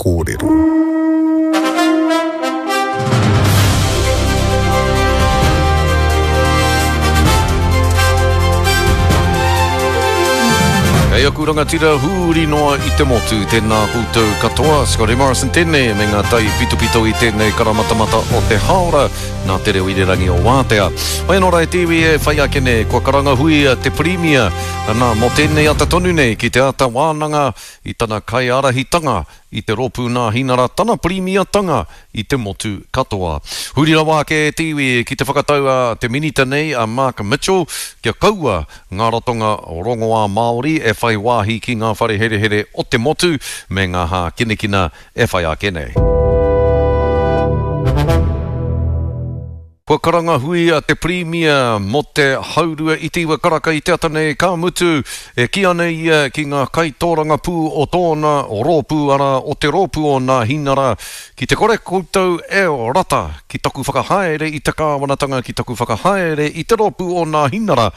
kōrero. Kei aku rangatira huri noa i te motu, tēnā koutou katoa. Scotty Morrison tēnei me ngā tai pitopito i tēnei karamatamata o te haora nā te reo irirangi o Wātea. Mai anō rā e te iwi e whai ake nei, kua karangahuia te Pirimia, nā, mō tēnei ata tonu nei ki te ata wānanga i tana kaiārahitanga i te Rōpū Nāhinara tana pirimiatanga i te motu katoa. Huri rawa ake e te iwi ki te whakatau a te Minita nei a Mark Mitchell kia kaua ngā ratonga rongoā Māori e whai wāhi ki ngā whare herehere o te motu me ngā hākinakina e whai ake nei. Kua karanga hui a te Pirimia mō te haurua i te iwa karaka i te ata nei, ka mutu, e kī ana ia ki ngā kaitōrangapū o tōna rōpū, arā, o te rōpū o Nāhinara, Ki te kore koutou e rata ki taku whakahaere i te kāwanatanga, ki taku whakahaere i te rōpū o Nāhinara,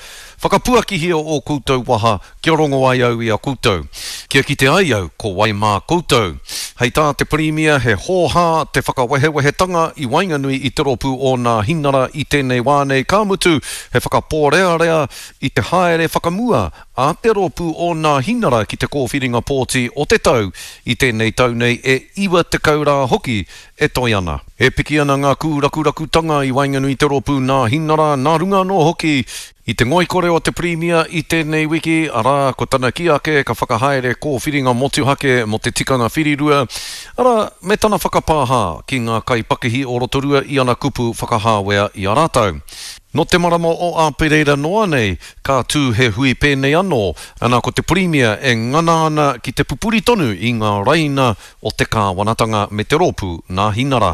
whakapuakihia ō koutou waha Kia rongo ai au i a koutou. Kia kite ai au ko wai mā koutou. Hei tā te Pirimia he hōhā te whakawehewehetanga i waenganui i te rōpū o Nāhinara i tēnei wā nei, ka mutu he whakapōrearea i te haere whakamua a te rōpū o Nāhinara ki te kōwhiringa pōti o te tau i tēnei tau nei e 90 rā hoki e toe ana. E piki ana ngā kūrakurakutanga i waenganui i te rōpū Nāhinara, nā runga anō hoki I te ngoikore o te Pirimia i tēnei wiki, arā, ko tana kī ake ka whakahaere kōwhiringa motuhake mō te tikanga whirirua, arā, me tana whakapāha ki ngā kaipakihi o Rotorua i ana kupu whakahāwea i a rātou. Nō te marama o Āpereira noa nei, ka tū he hui pēnei anō, ana ko te Pirimia e ngana ana ki te pupuri tonu i ngā raina o te kāwanatanga me te rōpū Nāhinara.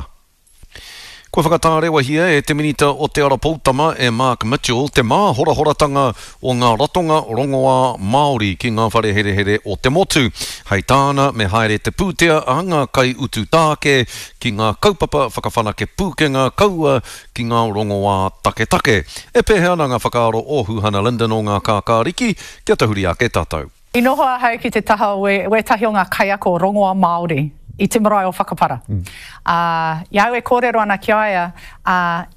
Kua whakatārewahia e te Minita o Te Ara Poutama, e Mark Mitchell, te māhorahoratanga o ngā ratonga rongoā Māori ki ngā whare herehere o te motu. Hei tāna, me haere te pūtea a ngā kaiutu tāke ki ngā kaupapa whakawhanake pūkenga kaua ki ngā rongoā taketake. E pēhea ana ngā whakaaro o Huhana Lyndon o Ngā Kākāriki? Kia tahuri ake tātou. I noho ahau ki te taha o wētahi o ngā kaiako rongoa Māori i te marae o Whakapara. Ā, i a au e kōrero ana ki a ia, ā,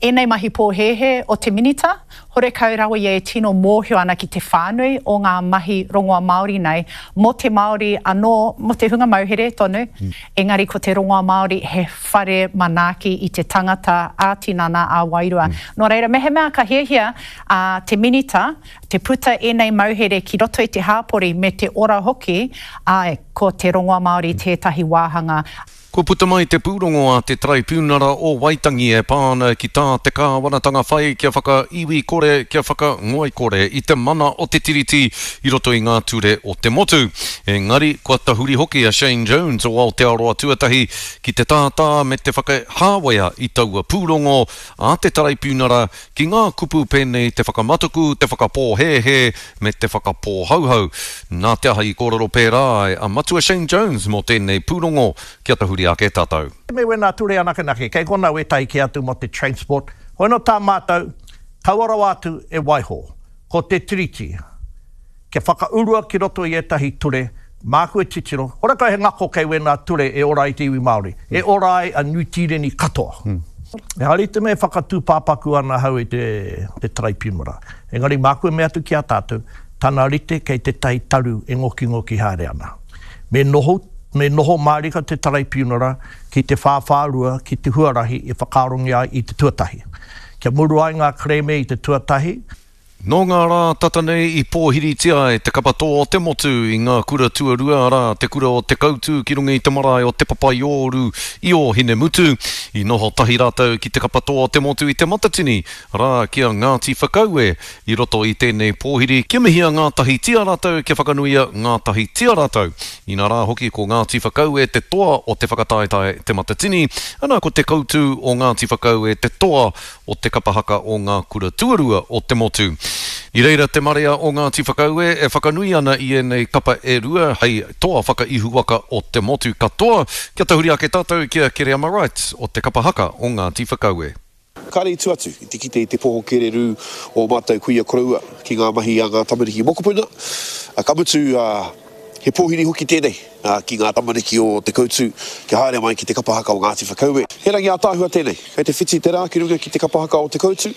ēnei mahi pōhēhē o te Minita, horekau rawa ia e tino mōhio ana ki te whānui o ngā mahi rongoa Māori nei, mō te Māori anō, mō te hunga mauhere tonu, engari ko te rongoa Māori he whare manaaki i te tangata ā-tinana, ā-wairua. Nō reira, mehemea ka hiahia a te Minita Te puta ēnei mauhere ki roto i te hāpori me te ora hoki, āe, ko te rongoa Māori tētahi wāhanga. Kua puta mai te pūrongo a te Taraipiunara o Waitangi e pā ana ki tā te kāwanatanga whai kia whakaiwi kore, kia whakangoikore i te mana o te Tiriti i roto i ngā ture o te motu. Engari, kua tahuri hoki a Shane Jones o Aotearoa Tuatahi ki te tātā me te whakahāwea i taua pūrongo a te Taraipiunara Ki ngā kupu pēnei te whakamatuku, te whakapōhēhē me te whakapōhauhau. Nā te aha i kōrero pērā ai a Matua Shane Jones mō tēnei pūrongo? Kia tahuri ake tātou. Me wena ture anakenake, kei kona wetahi ke atu mo te transport, hoino ta matou, kaua rawa atu e waiho, ko te Tiriti, kia whakaurua ki roto i etahi ture, māku e titiro, horekau he ngako kei wēnā ture e ora ai te iwi Māori, e ora ai a Niu Tīreni katoa. Ehara i te mea e whakatūpāpaku ana ahau i te Taraipiunara, engari māku e mea atu ki a tātou, tana rite kei tētahi taru e ngokingoki haere ana. Me noho, me noho mārika te Taraipiunara ki te whāwhārua, ki te huarahi e whakaarongia ai i te tuatahi. Kia muru ai ngā kerēme i te tuatahi, Nō ngā rā tata nei i pōhiritia ai te kapa tō o te motu i ngā kura tuarua, arā, te kura o Te Kautu ki runga i te marae o Te Papaiōru i Ōhinemutu. I noho tahi rātou ki te kapa tō o te motu i Te Matatini, arā, ki a Ngāti Whakaue i roto i tēnei pōhiri kia mihia ngātahitia rātou, kia whakanuia ngātahitia rātou. Inā rā hoki ko Ngāti Whakaue te toa o te whakataetae Te Matatini, ana ko Te Kautu o Ngāti Whakaue te toa o te kapa haka o ngā kura tuarua o te motu. I reira te marea o Ngāti Whakaue e whakanui ana i ēnei kapa e rua hei toa whakaihuwaka o te motu katoa. Kia tahuri ake tātou ki a Kereama Wright o te kapa haka o Ngāti Whakaue. Kāre i tua atu i te kite i te poho kererū o mātou kuia koroua ki ngā mahi a ngā tamariki mokopuna. Ka mutu, He pōhiri hoki tēnei ki ngā tamariki o Te Koutu kia haere mai ki te kapa haka o Ngāti Whakaue. He rangi ātaahua tēnei. Kei te whiti te rā ki runga ki te kapa haka o Te Koutu,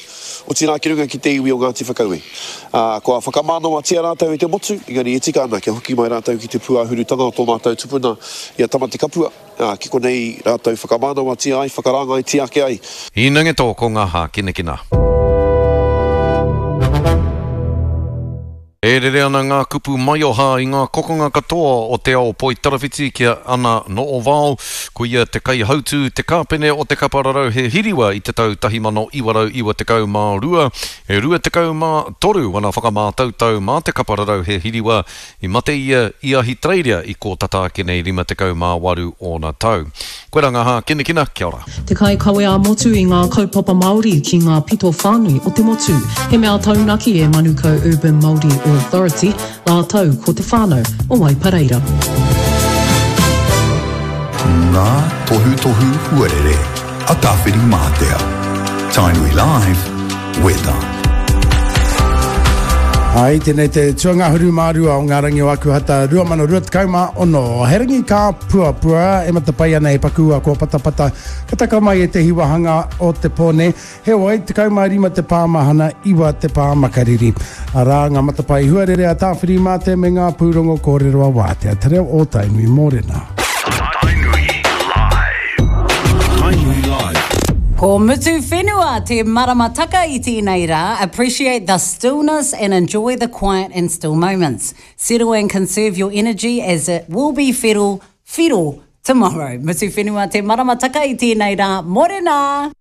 otirā ki runga ki te iwi o Ngāti Whakaue. Ā, kua whakamānawatia rātou e te motu, engari e tika ana kia hoki mai rātou ki te pūāhurutanga o tō mātou tupuna i a Tamatekapua, ā, ki konei rātou whakamānawatia ai, whakarāngaitia ake ai. Īnangeto ko ngā hākinakina. E rere ana ngā kupu maioha i ngā kokonga katoa o te ao poitarawhiti ki a Ana Noovao, ko ia te kaihautū, te kāpene o te kapa rarauhe hiriwa i te tau 1992, e 23 ana whakamātautau mā te kapa rarauhe hiriwa I mate ia i Ahitereiria i kō tata ake nei 58 ōna tau. Koirā ngā hākinakina, kia ora. Te kaikawe ā-motu i ngā kaupapa Māori ki ngā pito whānui o te motu. He mea taunaki e Manukau Urban Māori Authority rātou ko te whānau o Waipareira. Ngā tohutohu huarere a Tāwhirimātea. Tainui Live, Weather. Ai, tēnei te tuangahuru mā rua o ngā rangi o Akuhata 2026. He rangi ka puapua e matapae ana e paku a kua patapata ka taka mai ētehi wāhanga o te pō nei. Heoi, 15 te pā mahana, 9 te pā makariri. Arā ngā matapae huarere a Tāwhirimātea me ngā pūrongo kōrero a Wātea Te Reo o Tainui Mōrena. Tainui Live. Tainui Live. Ko Mutu Whenua te maramataka i tēnei rā, appreciate the stillness and enjoy the quiet and still moments. Settle and conserve your energy as it will be whero, whiro tomorrow. Mutu Whenua te maramataka i tēnei rā, morena!